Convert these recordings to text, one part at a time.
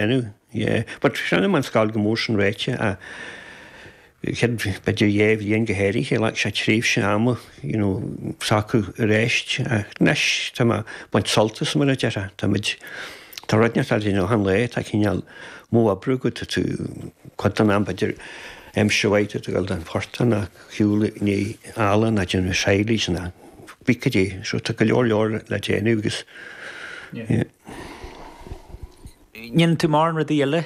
dhéanamh, yeah. But chonaic mé an scoil go mór sin ráite ach chéad b'fhéidir dhá bhliain go háirithe, ghlac sé tréimhse ama, you know, socrú arís ach anois tá mé ag baint sult as mar a déarfá, tá muid, tá rud inteacht le déanamh achan lá, tá cineál modh oibre agat, tá tú cuid den am b'fhéidir aimsir mhaith tá tú ag dul don phortach nó shiúl i ndiaidh eala nó déanamh silage nó cibé cad é, so tá go leor leor le déanamh agus yeah. Ndéanann tú mórán rudaí eile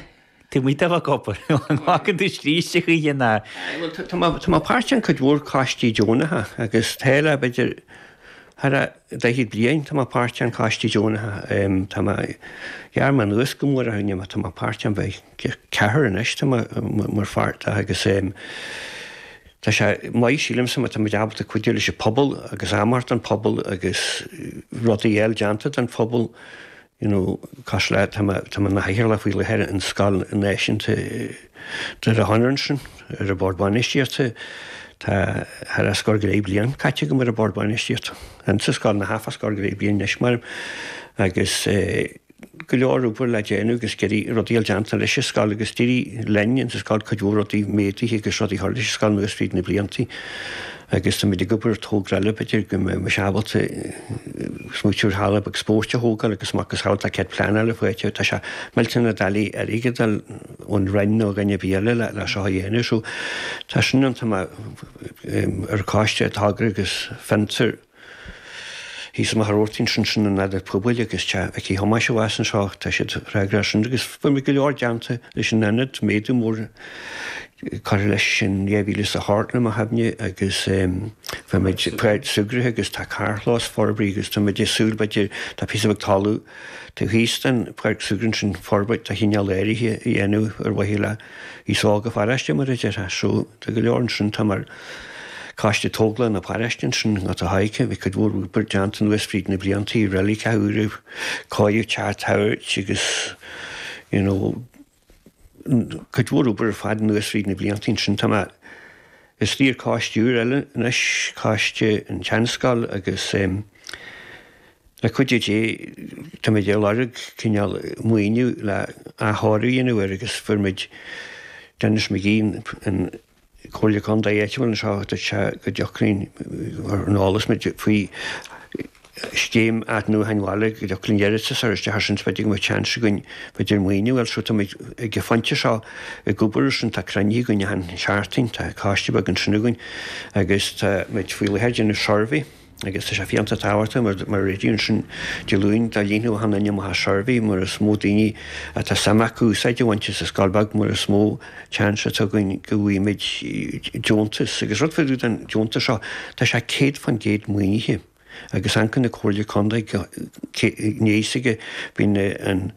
taobh amuigh de bheith ag obair? An nglacann tú scríste choíche ná? Bhuel, tá mé, tá mé páirteach in cuid mhór coistí deonacha agus tá le b'fhéidir thar a daichead bliain tá mé páirteach in coistí deonacha. Tá mé, ghearr mé anuas go mór ar tá mé páirteach in b'fhéidir ceathrar anois tá mé mar pháirt de agus tá sé maith sílimse má tá muid ábalta cuidiú leis an pobal agus am a thabhairt don phobal agus rudaí eile déanta don phobal. you know, cosúil le, tá mé, tá mé ina chathaoirleach faoi láthair an Scoil Náisiúnta Doire Chonaire ansin, ar an Bord Bainistíochta. Tá thar a scór go leith bliain caite agam ar an Bord Bainistíochta. Insa scoil, nó thart fá scór go leith bliain anois mar, agus eh, go leor obair le déanamh agus ag iarraidh rudaí a fháil déanta leis an scoil agus d'éirigh linn insa scoil cuid mhór rudaí méadaithe agus rudaí a chur leis an scoil anuas fríd na bliantaí. Agus táimid ag obair ar togra eile, b'fhéidir go mbeidh mise ábalta smaoitiú ar halla beag spóirt a thógáil agus macasamhail tá cead pleanála faighte, tá sé millteanach doiligh airgead a fháil ón Roinn nó dhuine ar bith eile le seo a dhéanamh. So tá sin ann, tá mé ar choiste togra agus fiontar. Thíos i Machaire Rabhartaigh ansin, sin an Ionad Pobail agus Teach Mhicí Thomáis abhus anseo, tá siad freagrach as sin agus fuair muid go leor déanta leis an ionad, méadú mór curtha leis in 2008 le mo chuimhne agus fuair muid páirc súgartha agus tá carrchlós forbraithe agus tá muid ag súil b'fhéidir, tá píosa beag talamh taobh thíos den pháirc súgartha ansin forbairt de chineál áirithe a dhéanamh ar mhaithe le aos óg an pharóiste mar a déarfá. So tá go leor ansin, tá mar Coiste Tógála na Paróiste ansin atá tagtha, bhí cuid mhór obair déanta anuas fríd na bliantaí, reiligeacha úra, cóiriú teach tabhairt agus you know cuid mhór obair ar fad anuas fríd na bliantaí ansin. Tá mé istigh ar coiste úr eile anois, coiste an tSeanscoil agus em le cuidiú Dé táimid ag lorg cineál maoiniú le athchóiriú a dhéanamh air agus fuair muid Denis McGee an Comhairle Contae áitiúil anseo, dúirt sé go dtiocfadh linn, ar an eolas muid faoi scéim athnuachan bhaile, go dtiocfadh linn iarratas a chur isteach ar sin, b'fhéidir go mbeadh seans againn b'fhéidir maoiniú a fháil. So tá muid ag an phointe seo ag obair ar sin, tá cruinnithe againn achan seachtain, tá coiste beag ansin againn agus tá muid faoi láthair ag déanamh suirbhé. Agus tá sé fiúntach tábhachtach mar mar a dúirt ansin Dé Luain dá líonfadh achan duine amach an suirbhé mar is mó daoine atá suim acu úsáid a bhaint as an scoil bheag mar is mó chance atá againn go bhfaighimid deontas. Agus rud fá dtaobh den deontas seo, tá sé 100% maoinithe agus amharcann na Comhairle Contae go níos aige bíonn an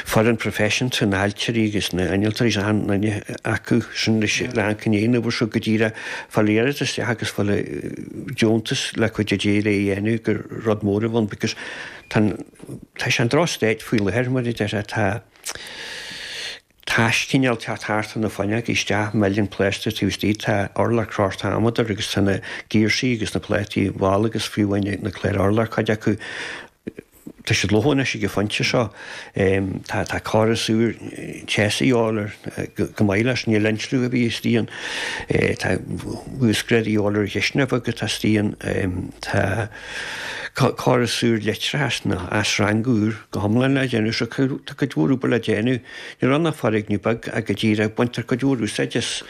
foireann proifisiúnta, na hailtirí agus na innealtóirí is achan duine acu sin leis le amharc i ndiaidh an obair seo go díreach fáil iarratas isteach agus fáil deontas le cuidiú Dé le é a dhéanamh gur rud mór a bheadh ann because tá tá sé in drochstaid faoi láthair mar a déarfá tá tais cineál teacht thart ar na fuinneoga isteach milleann plásta taobh istigh tá urlár crochta amadar agus tá na girsí agus na plátaí bhalla agus fiú amháin na cláir urláir cuid acu Tá siad lofa anois ag an phointe seo. Tá tá córas úr teasa a dhíobháil air go maith leis. Níl insliú ar bith istigh ann. Tá uasghrádú a dhíobháil ar an chisteanach bheag atá istigh ann. Tá córas úr leictreachais nó asrangú úr go hiomlán le déanamh. So tá cuid mhór obair le déanamh. Níl ann ach foirgneamh beag ach go díreach baintear cuid mhór úsáid as.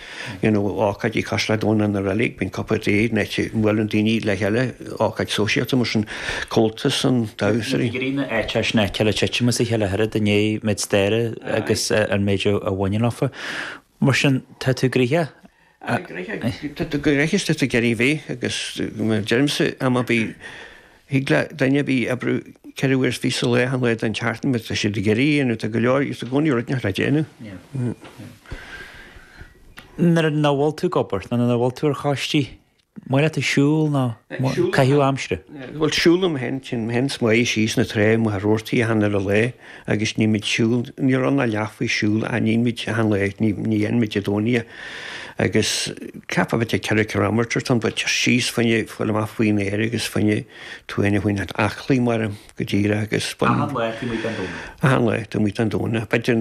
you know ócáidí cosúil le Domhnach na Reilig, bíonn cuppa tae in áit a mbuaileann daoine le chéile, ócáid sóisialta mar sin, Comhaltas an damhsóirí. Ní na áiteacha sin aici le titim as a chéile oiread i ndiaidh méid staire agus an méid a bhaineann leofa. Mar sin, tá tú gnoitheach. Gnoitheach, tá tú gnoitheach is tá tú ag iarraidh bheith agus mar deirimse am ar bith Thig le duine ar bith oibriú 24 uair sa lá achan lá den tseachtain má tá siad ag iarraidh é nó tá go leor i gcónaí rud inteacht le déanamh. Nuair nach bhfuil tú ag obair nó nuair nach bhfuil tú ar choistí, Maith leat ag siúl nó caitheamh aimsire? Bhuel, siúlaim féin, téann mé féin 's Máire síos na trá amuigh ar Rabhartaigh achan uile lá agus níonn muid siúl, níl ann ach leath faoi siúl ach níonn muid achan lá, ní dhéanann muid Dé Domhnaigh é. Agus ceapfá b'fhéidir 4 kilometre atá ann but síos fá choinne fáil amach faoin aer agus fá choinne tú féin a choinneáil aclaí mar go díreach agus. Achan lá taobh amuigh den Domhnach? Achan lá taobh amuigh den Domhnach. B'fhéidir na.